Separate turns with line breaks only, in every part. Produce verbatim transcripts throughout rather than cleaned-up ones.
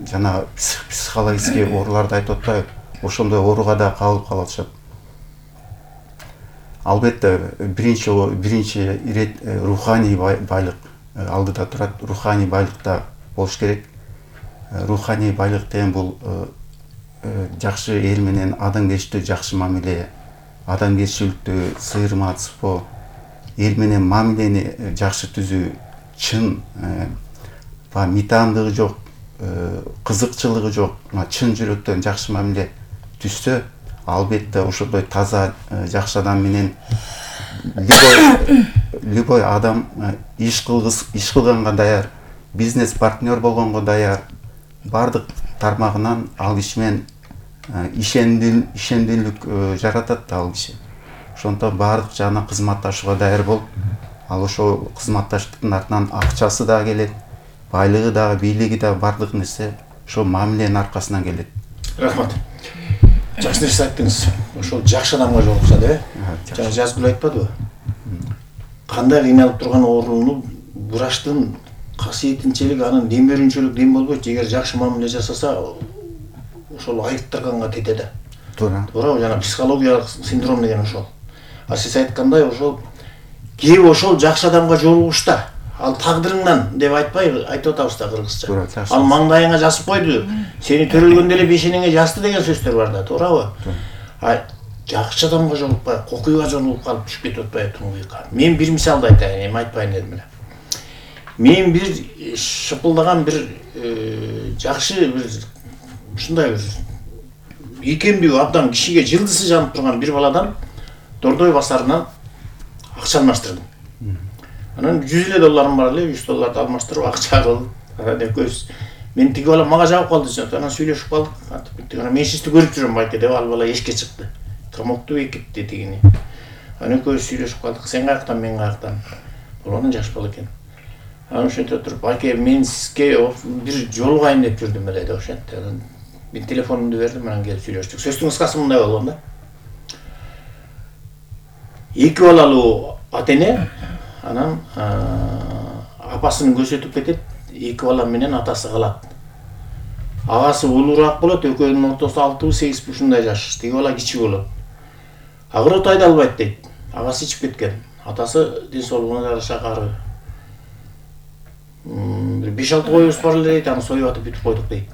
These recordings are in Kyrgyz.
жана психологический ооруларды айтып атпайбы, ошондой ооруга да кабылып калып атышат. Албетте биринчи биринчи ирет руханий байлык алдыда турат. Руханий байлыкта болуш керек. Руханий байлык деген бул жакшы эл менен адамгерчиликтүү жакшы мамиле, адамгерчиликтүү сыйырматсыпоо, эл менен мамилени жакшы түзүү, чын митандыгы жок, кызыкчылыгы жок, чын жүрөктөн жакшы мамиле түзсө, албетте ошондой таза жакшы адам менен любой любой адам иш кылгыс иш кылганга даяр, бизнес партнер болгонго даяр, бардык тармагынан ал киши менен ишендүүлүк жаратат ал киши. Ошондон бардык жагынан кызматташууга даяр болуп, ал ошол кызматташтыктын артынан акчасы да келет, байлыгы да, бийлиги да, бардык нерсе ошол мамиленин аркасынан келет.
Рахмат. Жакшы нерсе айттыңыз. Ошол жакшы адамга жолукса деп, жана Жазгүл айтпадыбы? Кандай кыйналып турган ооруну врачтын касиетинчелик, анын дем берүүчүлүк дем болбойт. Эгер жакшы мамиле жасаса, ошол айыктырганга тете да.
Туура.
Туура, жана психологиялык синдром деген ошол. А сиз айткандай, ошол кээ ошол жакшы адамга жолугушта, ал тагдырыңдан деп айтпай айтып атабыз да кыргызча. Ал маңдайыңа жазып койду, сени төрөлгөндө эле бешенеңе жазды деген сөздөр бар да, туурабы? А жакшы адамга жолукпай, кокуйга жолугуп калып түшүп кетип атпайбы туңгуйга. Мен бир мисалды айтайын, эми айтпайын дедим эле. Мен бир шыпылдаган бир жакшы бир ушундай бир ийкемдүү абдан кишиге жылдысы жанып турган бир баладан Дордой базарынан акча алмаштырдым. Анан жүз элүү долларым бар эле, жүз долларды алмаштырып акча кылып, анан экөөбүз мен тиги бала мага жабып калды, анан сүйлөшүп калдык. Антип биттик. Анан мен сизди көрүп жүрөм байке деп ал бала эшикке чыкты. Камокту бекитти тигини. Анан экөөбүз сүйлөшүп калдык. Сен каяктан, мен каяктан. Баланын жаш бала экен. Анан ошентип отуруп, байке мен сизге бир жолугайын деп жүрдүм эле деп ошентти. Анан мен телефонумду бердим, анан келип сүйлөштүк. Сөздүн кыскасы мындай болгон да. Эки балалуу ата-эне анан апасын көрсөтүп кетет, эки бала менен атасы калат. Агасы улуураак болот, экөөнүн ортосу алты сегиз ушундай жаш, тиги бала кичи болот. Агырот айда албайт дейт. Агасы ичип кеткен. Атасы ден соолугуна жараша кары. Бир беш алты коюбуз бар эле дейт, аны союп атып бүтүп койдук дейт.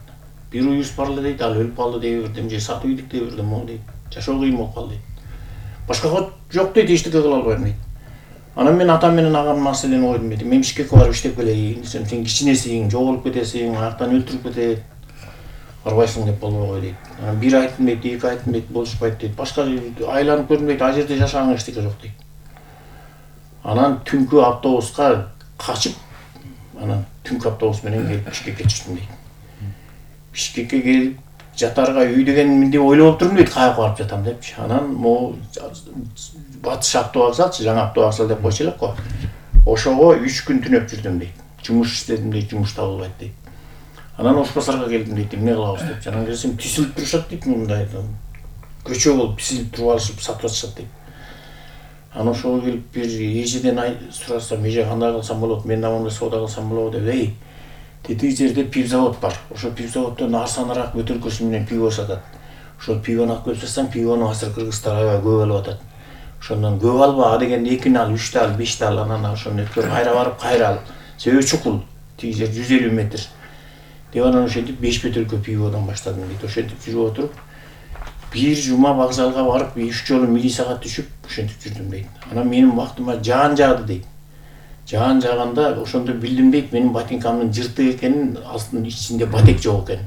Бир уюбуз бар эле дейт, ал өлүп калды дей бердим, же сатып ийдик дей бердим ол дейт. Жашоо кыйын болуп калды дейт. Башка кот жок дейт, эчтеке кыла албайм дейт. Анан мен атам менен агам маселени койдум дейт. Мен Бишкекке барып иштеп келейин десем, сен кичинесиң, жоголуп кетесиң, аяктан өлтүрүп кетет. Барбайсың деп болбой кой дейт. Анан бир айттым дейт, эки айттым дейт, болушпайт дейт. Башка айланып көрдүм дейт, ал жерде жашаганга эчтеке жок дейт. Анан түнкү автобуска качып, анан түнкү автобус менен келип Бишкекке түштүм дейт. Бишкекке келип жатарга үй деген деп ойлоп отурдум дейт, каяка барып жатам депчи. Анан могу батыш автовокзалчы, жаңы автовокзал деп койчу элек го. Ошого үч күн түнөп жүрдүм дейт. Жумуш иштедим дейт, жумуш табылбайт дейт. Анан Ош базарга келдим дейт, эмне кылабыз деп. Анан келсем тисилип турушат дейт, мындай көчө болуп тисилип туруп алышып сатып атышат дейт. Анан ошого келип бир эжеден сурасам, эже кандай кылсам болот, мен да мондай соода кылсам болобу деп, эй, тетиги жерде пивзавод бар. Ошол пивзаводдон арзаныраак бөтөлкөсү менен пиво сатат. Ошол пивону алып келип сатсаң, пивону азыр кыргыздар аябай көп алып атат. Ошондон көп алба, а дегенде экини ал, үчтү ал, бешти ал, анан ошону өткөрүп кайра барып кайра ал. Себеби чукул, тиги жер жүз элүү метр. Деп анан ошентип беш бөтөлкө пиводон баштадым дейт. Ошентип жүрүп отуруп, бир жума вокзалга барып, үч жолу милицияга түшүп, ошентип жүрдүм дейт. Анан менин бактыма жаан жаады дейт. Жаан жааганда ошондо билдим дейт, менин ботинкамдын жыртык экенин, астын ичинде батек жок экен.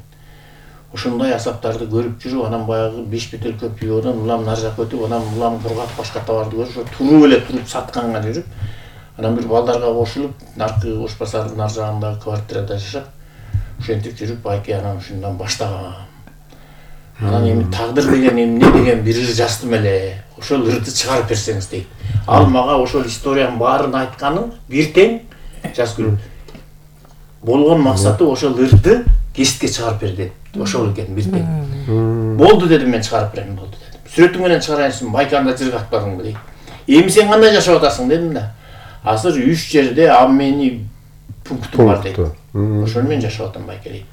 Ошондой асаптарды көрүп жүрүп, анан баягы беш бөтөлкө пиводон улам нар жакка өтүп, анан улам кургак башка товарды көрүп, туруп эле туруп сатканга жүрүп, анан бир балдарга кошулуп, наркы Ош базарынын нар жагындагы квартирада жашап, ошентип жүрүп, байке анан ушундан баштагам. Анан эми тагдыр деген эмне деген бир ыр жаздым эле. Ошол ырды чыгарып берсеңиз дейт. Ал мага ошол историянын баарын айтканын бир тең Жазгүл. Болгон максаты ошол ырды кеситке чыгарып бер деп. Ошол экен бир тең. Болду дедим, мен чыгарып берем, болду дедим. Сүрөтүң менен чыгарайынсың, байке анда жыргатпадыңбы дейт. Эми сен кандай жашап атасың дедим да. Азыр үч жерде обменный пунктум бар дейт. Ошону мен жашап атам байке дейт.